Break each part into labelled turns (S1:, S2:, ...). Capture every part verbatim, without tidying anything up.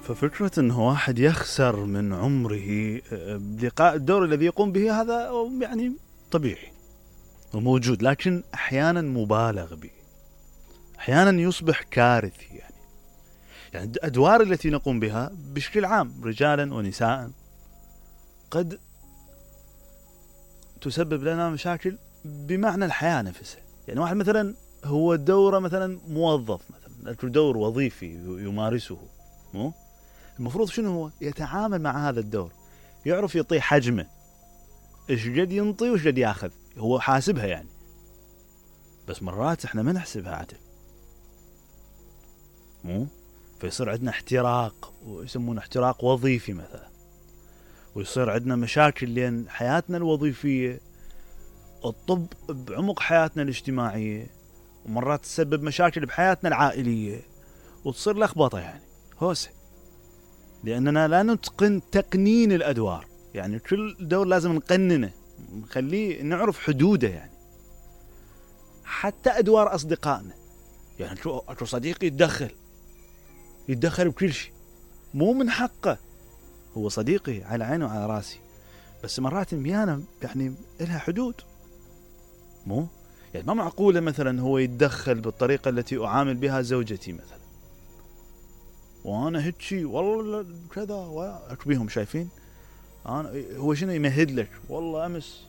S1: ففكرة أنه واحد يخسر من عمره بلقاء الدور الذي يقوم به هذا يعني طبيعي وموجود، لكن أحيانا مبالغ به، أحيانا يصبح كارثي. يعني يعني الأدوار التي نقوم بها بشكل عام رجالا ونساء قد تسبب لنا مشاكل بمعنى الحياة نفسها. يعني واحد مثلا هو دوره مثلا موظف، مثلا دور وظيفي يمارسه، مو المفروض شنو هو؟ يتعامل مع هذا الدور، يعرف يعطيه حجمه، ايش قد ينطي وايش قد ياخذ، هو حاسبها يعني. بس مرات احنا ما نحسبها عدل، مو فيصير عندنا احتراق، ويسمونه احتراق وظيفي مثلا، ويصير عندنا مشاكل لين حياتنا الوظيفية الطب بعمق حياتنا الاجتماعية، ومرات تسبب مشاكل بحياتنا العائلية، وتصير لخبطة يعني هوسة، لأننا لا نتقن تقنين الأدوار. يعني كل دور لازم نقننه، نخليه نعرف حدوده. يعني حتى أدوار أصدقائنا، يعني شو أكو صديقي يتدخل يتدخل بكل شيء، مو من حقه، هو صديقي على عيني وعلى راسي، بس مرات الميانة يعني إلها حدود، مو يعني ما معقولة مثلا هو يتدخل بالطريقة التي أعامل بها زوجتي مثلا، وأنا هيك والله كذا وأكبيهم شايفين أنا هو شنو يمهد لك، والله أمس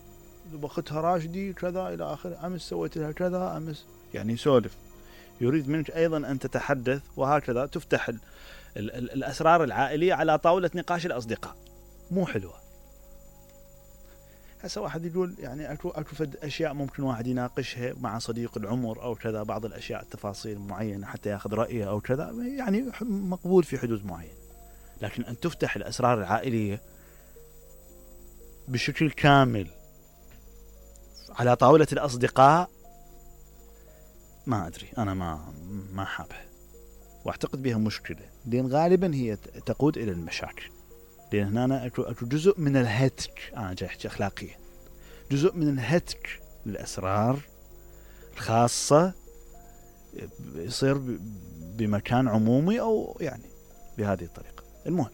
S1: بختها راشدي كذا إلى آخر، أمس سويت لها كذا، أمس يعني يسولف، يريد منك أيضا أن تتحدث، وهكذا تفتح ال ال ال الأسرار العائلية على طاولة نقاش الأصدقاء. مو حلوة. هسه واحد يقول يعني أكو أكو فد أشياء ممكن واحد يناقشها مع صديق العمر أو كذا، بعض الأشياء التفاصيل معينة حتى يأخذ رأيه أو كذا، يعني مقبول في حدود معينة. لكن أن تفتح الأسرار العائلية بشكل كامل على طاولة الأصدقاء، ما أدري، أنا ما ما حابها، واعتقد بها مشكلة، لأن غالبا هي تقود إلى المشاكل. لأن هنا أكو أكو جزء من الهتك، أنا جاي أحكي أخلاقيا، جزء من الهتك للأسرار الخاصة يصير بمكان عمومي أو يعني بهذه الطريقة. المهم،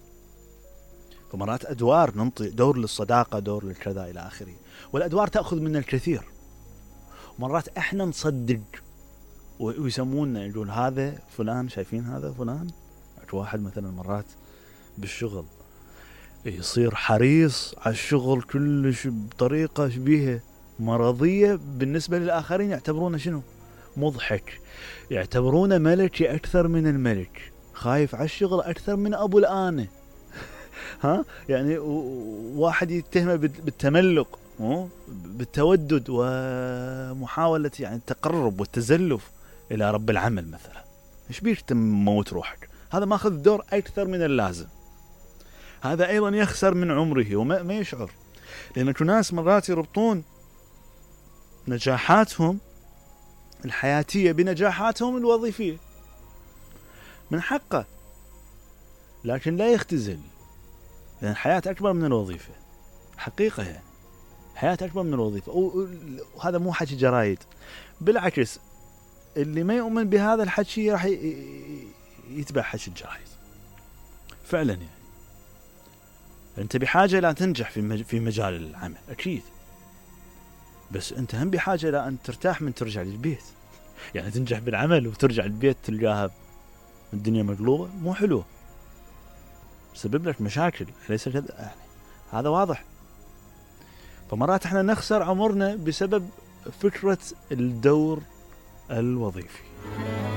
S1: فمرات أدوار ننطي دور للصداقة، دور للكذا إلى آخره، والأدوار تأخذ من الكثير. مرات إحنا نصدق ويسمونا يقول هذا فلان، شايفين هذا فلان. واحد مثلا مرات بالشغل يصير حريص على الشغل كلش بطريقة شبيهة مرضية، بالنسبة للآخرين يعتبرونه شنو؟ مضحك، يعتبرونه ملكي أكثر من الملك، خايف على الشغل أكثر من أبو الآنة. ها يعني واحد يتهمه بالتملق، بالتودد ومحاولة يعني التقرب والتزلف إلى رب العمل مثلا. إيش بيك تموت روحك؟ هذا ما أخذ دور أكثر من اللازم. هذا أيضا يخسر من عمره وما ما يشعر، لأن ناس مرات يربطون نجاحاتهم الحياتية بنجاحاتهم الوظيفية. من حقه، لكن لا يختزل، لأن الحياة أكبر من الوظيفة حقيقة، يعني حياة أكبر من الوظيفة. وهذا مو حكي جرايد، بالعكس اللي ما يؤمن بهذا الحكي راح يتبع حكي الجرايد فعلا. يعني أنت بحاجة لا تنجح في في مجال العمل أكيد، بس أنت هم بحاجة لا أن ترتاح من ترجع للبيت. يعني تنجح بالعمل وترجع للبيت تلقاها الدنيا مقلوبة، مو حلوة، سبب لك مشاكل، ليس كذا يعني، هذا واضح. فمرات احنا نخسر عمرنا بسبب فكرة الدور الوظيفي.